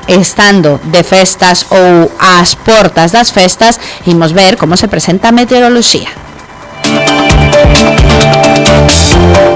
estando de festas ou ás portas das festas, imos ver como se presenta a meteoroloxía.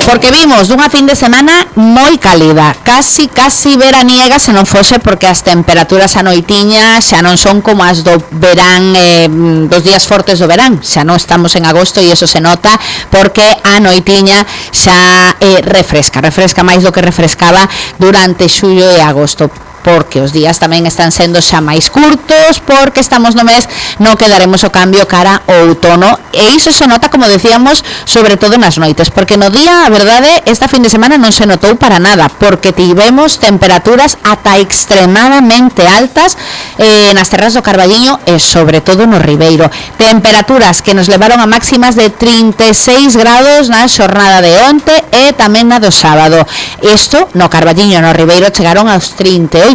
Porque vimos dunha fin de semana moi cálida, casi veraniega, se non fose porque as temperaturas a noitiña xa non son como as do verán, dos días fortes do verán, xa non estamos en agosto e iso se nota porque a noitiña xa refresca máis do que refrescaba durante xullo e agosto, porque os días tamén están sendo xa máis curtos, porque estamos no mes no que daremos o cambio cara ao outono, e iso se nota, como decíamos, sobre todo nas noites, porque no día, a verdade, esta fin de semana non se notou para nada, porque tivemos temperaturas ata extremadamente altas nas terras do Carballiño e sobre todo no Ribeiro, temperaturas que nos levaron a máximas de 36 grados na xornada de onte e tamén na do sábado. Isto no Carballiño e no Ribeiro chegaron aos 39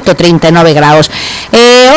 graus.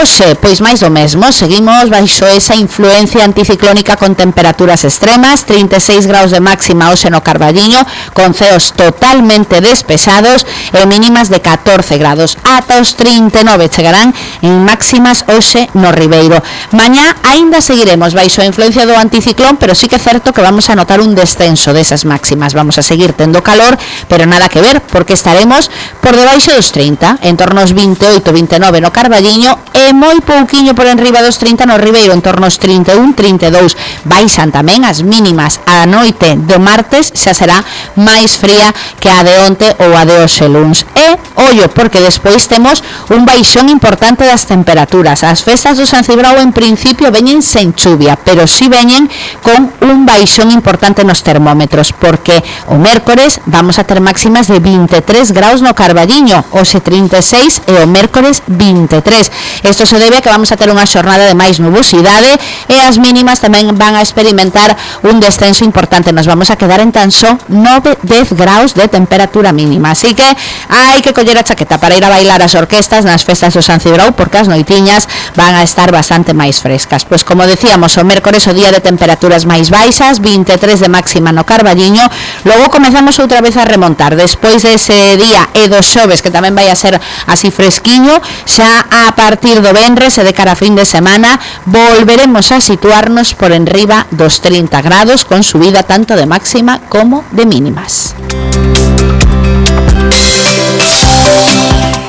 Hoxe, pois máis do mesmo, seguimos baixo esa influencia anticiclónica con temperaturas extremas, 36 graus de máxima hoxe no Carballiño, con ceos totalmente despesados e mínimas de 14 grados. Ata os 39 chegarán en máximas hoxe no Ribeiro. Mañá aínda seguiremos baixo a influencia do anticiclón, pero sí que é certo que vamos a notar un descenso desas máximas. Vamos a seguir tendo calor, pero nada que ver, porque estaremos por debaixo dos 30, en torno aos 28, 29 no Carballiño e moi pouquiño por enriba dos 30 no Ribeiro, en torno aos 31, 32. Baixan tamén as mínimas. A noite do martes xa será máis fría que a de onte ou a de hoxe luns. E, ollo, porque despois temos un baixón importante das temperaturas. As festas do San Cibrao en principio veñen sen chuvia, pero si veñen con un baixón importante nos termómetros, porque o mércores vamos a ter máximas de 23 graus no Carballiño, hoxe 36 e o mércores 23. Isto se debe a que vamos a ter unha xornada de máis nubosidade e as mínimas tamén van a experimentar un descenso importante. Nos vamos a quedar en tan só 9-10 graus de temperatura mínima. Así que hai que coller a chaqueta para ir a bailar as orquestas nas festas do San Cibrao, porque as noitiñas van a estar bastante máis frescas. Pois como decíamos, o mércores o día de temperaturas máis baixas, 23 de máxima no Carballiño. Logo comezamos outra vez a remontar. Despois dese día e dos xoves, que tamén vai a ser así fresquiño, xa a partir do venres e de cara a fin de semana volveremos a situarnos por enriba dos 30 grados, con subida tanto de máxima como de mínimas.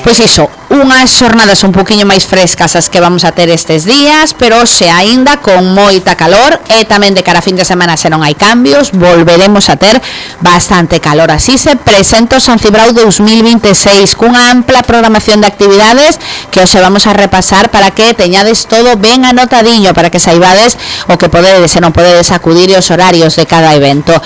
Pois iso, unhas xornadas un poquinho máis frescas as que vamos a ter estes días, pero hoxe aínda con moita calor e tamén de cara a fin de semana, se non hai cambios, volveremos a ter bastante calor. Así se presenta o San Cibrao 2026 cunha ampla programación de actividades que hoxe vamos a repasar para que teñades todo ben anotadiño, para que saibades o que podedes e non podedes acudir e os horarios de cada evento.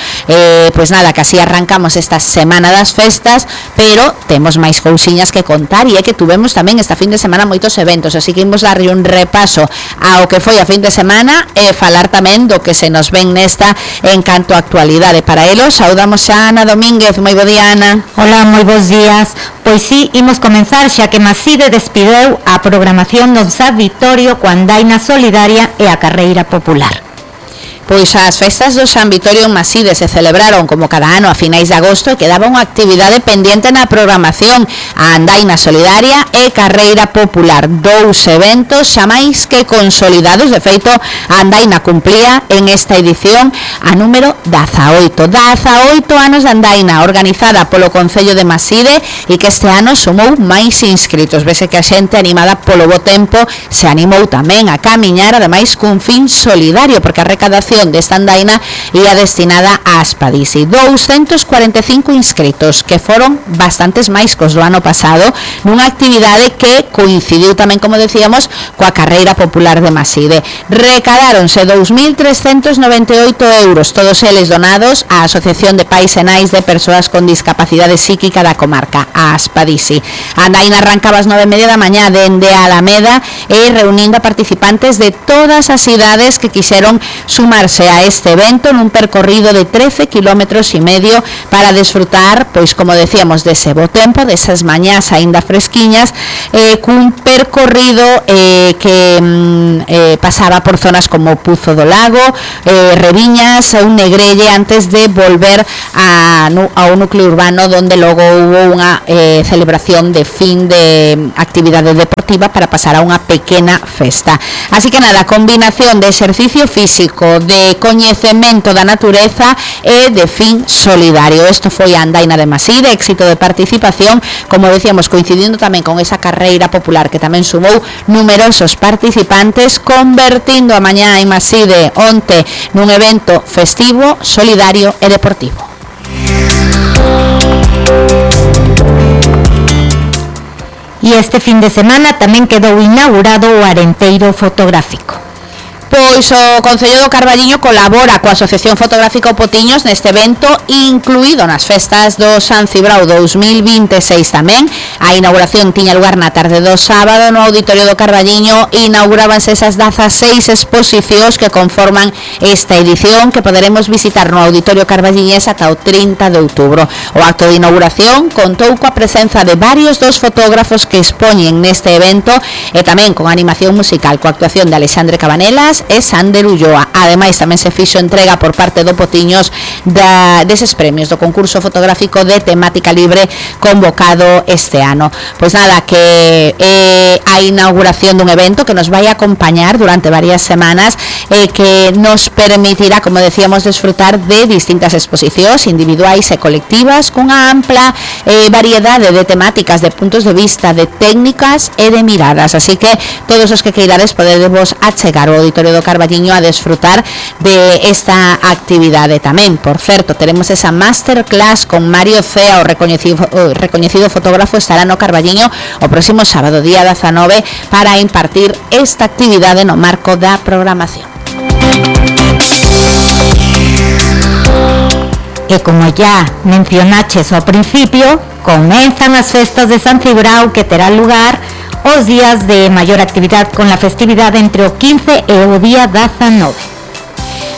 Pois nada, que así arrancamos esta semana das festas, pero temos máis cousiñas que contar, e é que tuvemos tamén esta fin de semana moitos eventos, así que imos darlle un repaso ao que foi a fin de semana e falar tamén do que se nos ven nesta en canto a actualidade. Para elo, saudamos a Ana Domínguez. Moi bo día, Ana. Hola, moi bons días. Pois sí, imos comenzar xa que Maside despideu a programación do San Vitorio coa andaina solidaria e a carreira popular. Pois as festas do San Vitorio en Maside se celebraron como cada ano a finais de agosto e quedaba unha actividade pendiente na programación, a andaina solidaria e carreira popular, dous eventos xa máis que consolidados. De feito, a andaina cumplía en esta edición a número 18 anos de andaina, organizada polo Concello de Maside e que este ano sumou máis inscritos. Vese que a xente animada polo bo tempo se animou tamén a camiñar, ademais cun fin solidario, porque a recadación desta andaina ia destinada a Aspadisi. 245 inscritos, que foron bastantes máis cos do ano pasado, nunha actividade que coincidiu tamén, como decíamos, coa carreira popular de Maside. Recadáronse 2.398 euros, todos eles donados á Asociación de Pais e Nais de Persoas con Discapacidade Psíquica da comarca, a Aspadisi. A andaina arrancaba ás 9:30 da mañá dende a Alameda e reunindo a participantes de todas as cidades que quixeron sumarse a este evento nun percorrido de 13 kilómetros e medio para desfrutar, pois como decíamos, dese bo tempo, desas mañás aínda fresquiñas, cun percorrido que pasaba por zonas como Puzo do Lago, Reviñas ou Negrelle, antes de volver ao núcleo urbano, donde logo hubo unha celebración de fin de actividade deportiva para pasar a unha pequena festa. Así que nada, combinación de exercicio físico, de coñecemento da natureza e de fin solidario. Isto foi a andaina de Maside, éxito de participación, como decíamos, coincidindo tamén con esa carreira popular que tamén sumou numerosos participantes, convertindo a mañá en Maside onte nun evento festivo, solidario e deportivo. E este fin de semana tamén quedou inaugurado o Arenteiro Fotográfico. Pois o Concello do Carballiño colabora coa Asociación Fotográfica O Potiños neste evento, incluído nas festas do San Cibrao 2026 tamén. A inauguración tiña lugar na tarde do sábado no Auditorio do Carballiño. Inaugurábanse esas 16 exposicións que conforman esta edición, que poderemos visitar no Auditorio Carballiñés ata o 30 de outubro. O acto de inauguración contou coa presenza de varios dos fotógrafos que expoñen neste evento e tamén con animación musical, coa actuación de Alexandre Cabanelas e Sander Ulloa. Ademais, tamén se fixo entrega por parte do Potiños deses premios do concurso fotográfico de temática libre convocado este ano. Pois nada, que a inauguración dun evento que nos vai acompañar durante varias semanas e que nos permitirá, como decíamos, disfrutar de distintas exposicións individuais e colectivas cunha ampla variedade de temáticas, de puntos de vista, de técnicas e de miradas. Así que todos os que queirades podedevos achegar ao Auditorio do Carballiño a desfrutar de esta actividade tamén. Por certo, teremos esa masterclass con Mario Cea, o recoñecido fotógrafo, estará no Carballiño o próximo sábado, día 19, para impartir esta actividade no marco da programación. E como ya mencionaches ao principio, comenzan as festas de San Cibrao, que terán lugar os días de maior actividade con a festividade entre o 15 e o día 19.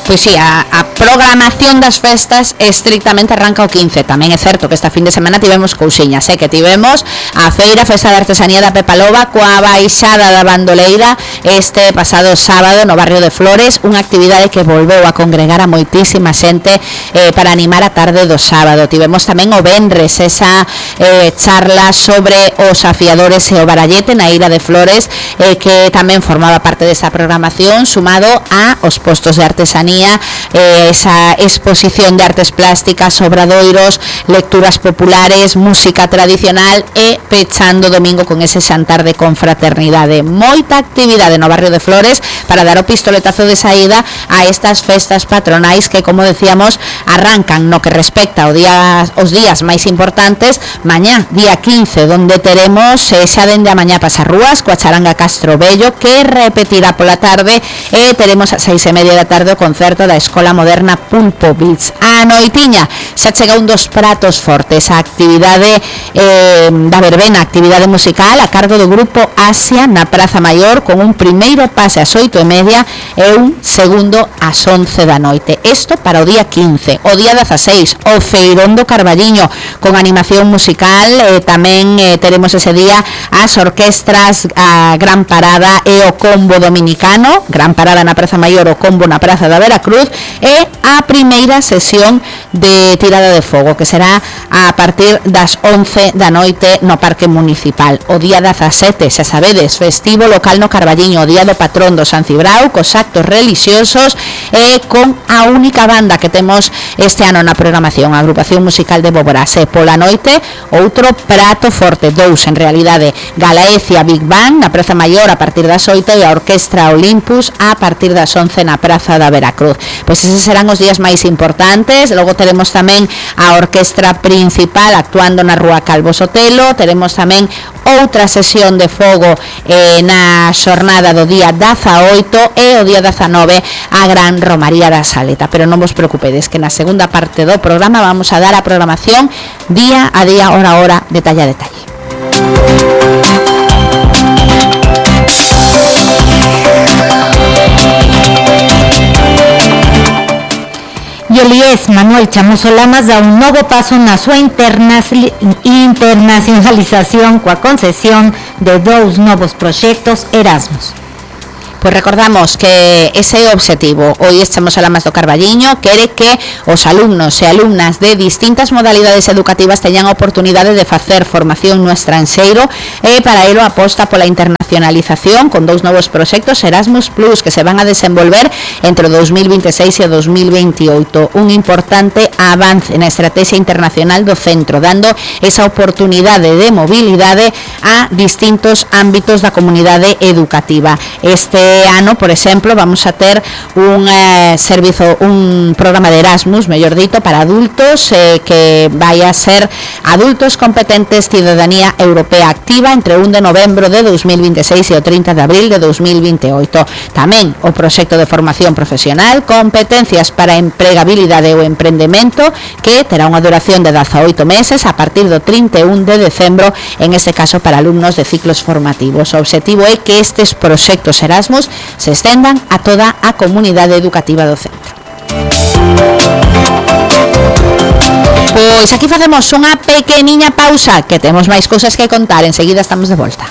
Pois sí, a programación das festas estrictamente arranca o 15. Tamén é certo que esta fin de semana tivemos cousiñas, que tivemos a Feira Festa de Artesanía da Pepa Loba coa baixada da bandoleira este pasado sábado no barrio de Flores, unha actividade que volveu a congregar a moitísima xente para animar a tarde do sábado. Tivemos tamén o venres esa charla sobre os afiadores e o barallete na Ira de Flores, que tamén formaba parte desta programación, sumado a os postos de artesanía, esa exposición de artes plásticas, obradoiros, lecturas populares, música tradicional e pechando domingo con ese xantar de confraternidade. Moita actividade no barrio de Flores para dar o pistoletazo de saída a estas festas patronais que, como decíamos, arrancan no que respecta os días máis importantes. Mañá, día 15, donde teremos xa dende a mañá pasarrúas coa charanga Castro Bello, que repetirá pola tarde, e teremos a 6:30 da tarde o concerto da Escola Moderna Pulpo Beats. A noitiña xa chega un dos pratos fortes, a actividade da verbena, actividade musical a cargo do grupo Asia na Praza Maior, con un primeiro pase ás 8:30 e un segundo ás 11 da noite. Isto para o día 15. O día 16, o Feirón do Carballiño, con animación musical. Tamén teremos ese día as orquestras, a Gran Parada e o Combo Dominicano. Gran Parada na Praza Maior, o Combo na Praza da Veracruz, e a primeira sesión de tirada de fogo, que será a partir das 11 da noite no Parque Municipal. O día 17, xa sabedes, festivo local no Carballiño, o día do patrón do San Cibrao, cos actos religiosos e con a única banda que temos este ano na programación, a agrupación musical de Boborás. E pola noite, outro prato forte, dous en realidade, Galaecia Big Band na Praza Maior a partir das 8 e a Orquestra Olympus a partir das 11 na Praza da Veracruz. Pois eses serán os días máis importantes. Logo teremos tamén a orquestra principal actuando na Rúa Calvo Sotelo. Teremos tamén outra sesión de fogo na xornada do día 18 e o día 19 a Gran Romaría da Saleta. Pero non vos preocupedes, que na segunda parte do programa vamos a dar a programación día a día, hora a hora, detalle a detalle. e el IES Manuel Chamoso Lamas dá un novo paso na súa internacionalización coa concesión de 2 novos proxectos Erasmus. Pois recordamos que ese é o obxectivo. Hoy estamos a Lamas do Carballiño, quere que os alumnos e alumnas de distintas modalidades educativas teñan a oportunidade de facer formación no estranxeiro e para ello aposta pola internacionalización con 2 novos proxectos Erasmus Plus que se van a desenvolver entre o 2026 e o 2028. Un importante avance na estrategia internacional do centro, dando esa oportunidade de mobilidade a distintos ámbitos da comunidade educativa. Este ano, por exemplo, vamos a ter un programa de Erasmus, mellor dito, para adultos que vai a ser adultos competentes ciudadanía europea activa entre 1 de novembro de 2026 e o 30 de abril de 2028. Tamén o proxecto de formación profesional, competencias para empregabilidade ou emprendemento, que terá unha duración de 18 meses a partir do 31 de decembro, en este caso para alumnos de ciclos formativos. O obxectivo é que estes proxectos Erasmus se estendan a toda a comunidade educativa do centro. Pois aquí facemos unha pequeniña pausa, que temos máis cousas que contar, enseguida estamos de volta.